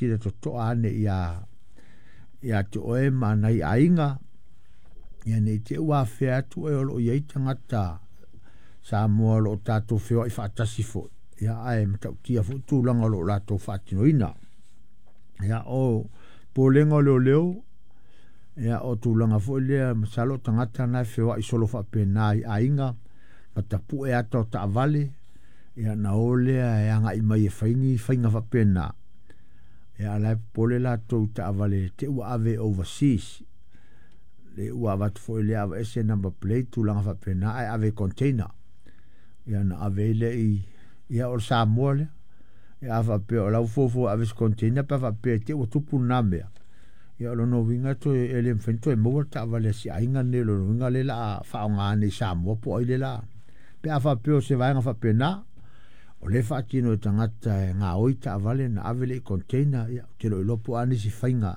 silasila totoa ane ia te oe ma nai aiga, ia nei te ua afea atu oe o loo i ai tagata Samoa o loo tatou feoai faatasi foi, ia ae matautia foi tulaga o loo latou faatinoina. Ia o popolega o leoleo, ia o tulaga foi lea, masalo o tagata na e feoai solo faapena i aiga ma tapue ata o taavale, ia na o lea e agai mai e fai ni faiga faapena. Ia a la e popole latou i taavale te ua ave overseas, le ua avatu foi lea aveese number plate, tulaga faapena, ae ave i container. Ia na ave ai lea i, ia o le Samoa lea. Ia a faapea o la ua fuafua e ave i se container pe a faapea te ua tupu lena mea, ia o lona uiga toe e le mafai ona toe maua le taavale a si aiga lenei, o lona uiga lea o le a faaaoga ane i Samoa po o ai lea o le a. Pe a faapea o se vaega faapena, o lea e faatino e tagata e gaoi taavale ona ave lea i container, ia ou te le o iloa po o a nisi faiga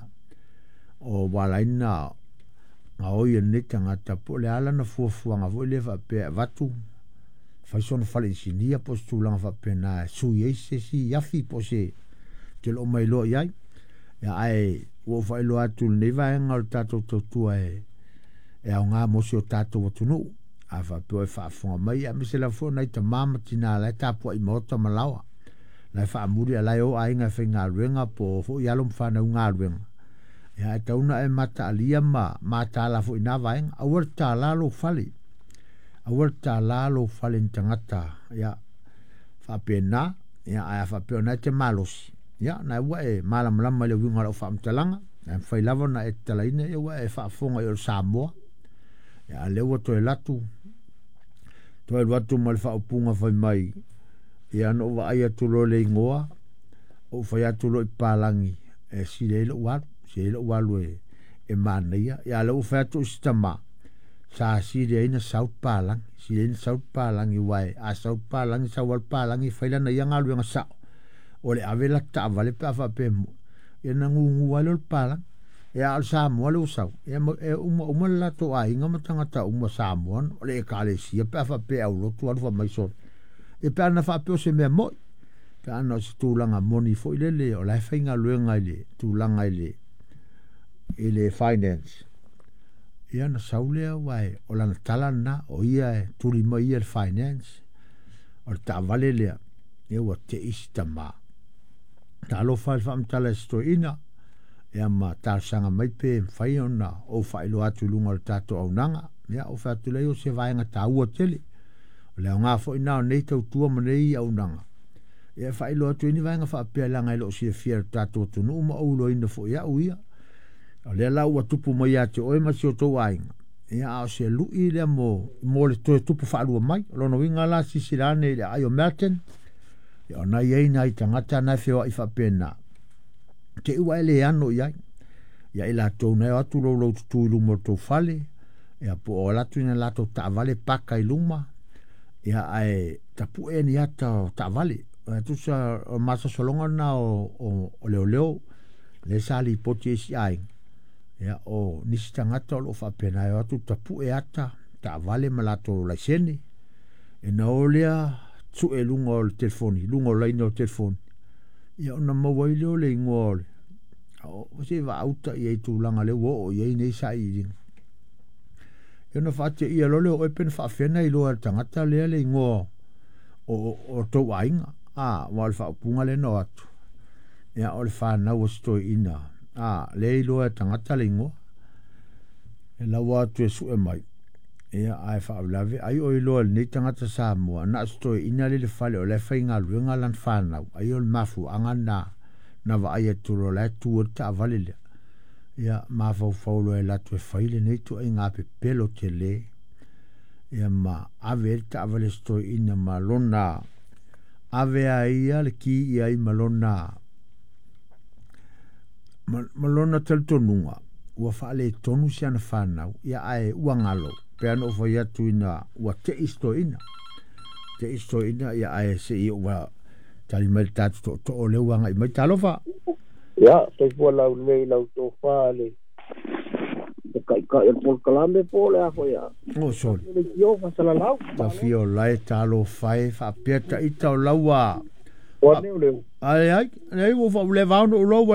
o ua ala ai ona gaoi e lenei tagata, po o le a lana fuafuaga foi lea faapea e avatu fai sona fale inisinia po o se tulaga faapena e sui ai se isi afi po o se, ou te le o mailoa i ai. Ia, ae ua ou faailoa atu i lenei vaega o le tatou tautua e aoga mo si o tatou atunuu. A faapea o e faafofoga mai, aemaise lava foi o nai tama ma tina la e tapuai maota ma laoa, la e faamuli a la e o aiga e faigaluega po o foi alo ma fanau galuega. Ia, ae tau na e mataalia ma mataala foi i na vaega. Aua le tatala lou fale. Aua le tatala lou fale i ni tagata. Ia, faapena. Ia, ae a faapea o na e te malosi, ia, na ua e malamalama i le uiga o lau faamatalaga. Ae mafai lava ona e tatalaina, ia ua e faafofoga i o le Samoa. Ia, a lea ua toe alu atu, toe alu atu ma le faaupuga fai mai, ia na ou vaai atu loa i le igoa, ou fai atu loa i papalagi, e sili ai lou alu, sili ai lou alu e manaia. Ia, a lea ua fai atu i si tama, sa sili ai na sau papalagi, sili ai na sau papalagi, aua a sau papalagi, sau lava le papalagi e fai lana ia galuega sao, o le ave lata taavale pe a faapea e ia na gugu lava lea o le papalagi. Ia, a o le Samoa lea ua sau, ia e uma uma le latou aiga ma tagata uma Samoa, o le ekalesia pe a faapea e aulotu alu fai mai sole. Ia pe ana faapea o se mea moi, pe ana o se tulaga moni foi lele, o la e faigaluega i le tulaga i le finance. Ia na sau lea aua o lana tala lena, o ia e tuli mai ia le finance, o le taavale lea, ia ua tei si tama. Talofa i le faamatala e se toeaina, ia ma talosaga mai pe mafai ona ou faailoa atu i luga o le tatou auaunaga. Ia, ou fai atu lea o se vaega taua tele. O le aoga foi lena o nei tautua ma nei auaunaga, ia e faailoa atu ai ni vaega faapea leaga e le o silafia e le tatou atunuu ma ou iloaina foi e au ia. O lea la ua tupu mai ia te oe ma si o tou aiga, ia a o se lui lea mo le toe tupu faalua mai. O lona uiga la, silasila ane i le aai o Melton, ia ona i ai nai tagata na e feoai faapena, te i ua e le ano i ai. Ia i latou na e o atu loulou tutu i luma o le tou fale, ia po o alu atu i na latou taavale paka i luma, ia ae tapue ni ata o taavale. Tusa o masasologa na o leoleo, lea sa lipoti e isi aiga, ia o nisi tagata o loo faapena e o atu tapue ata taavale ma latou laisene, ina o lea sue i luga o le telefoni, luga o laina o le telefoni, ia ona maua ai lea o le igoa o le o se vaauta i ai tulaga lea ua oo i ai nei sailiiliga. Ia ona faateia loa lea o oe pe na faafefea ona iloa e le tagata lea le igoa o tou aiga. Aua o le faaupuga lea na o atu, ia o le fanau a si toeaina, lea e iloa e tagata le igoa. E laua atu e sue mai, ia ae faalavelave ai o iloa e lenei tagata Samoa, na o si toeaina lea i le fale o la e faigaluega lana fanau, ai o le mafuaaga lena na vaai atu loa o la e tu ai le taavale lea. Ia mafaufau loa e alu atu e fai lenei ituaiga pepelo tele, ia ma ave ai le taavale a si toeaina ma lona ave ai ia le ki i ai ma lona talitonuga ua faaletonu si ana fanau, ia ae ua galo pe ana ou fai atu ina ua tei si toeaina. Tei si toeaina, ia ae se i ua tali mai le tatou tootoo lea ua agai mai. Talofa! Ia, soifua laulelei lau tofa le taitai o le polokalame po o le a foi a. O soli. Le tio fasalalau. Tafia o lae talofa e faapea taita o laua. O leo leo. Ai ai, ai ua fauleva ona ou loa.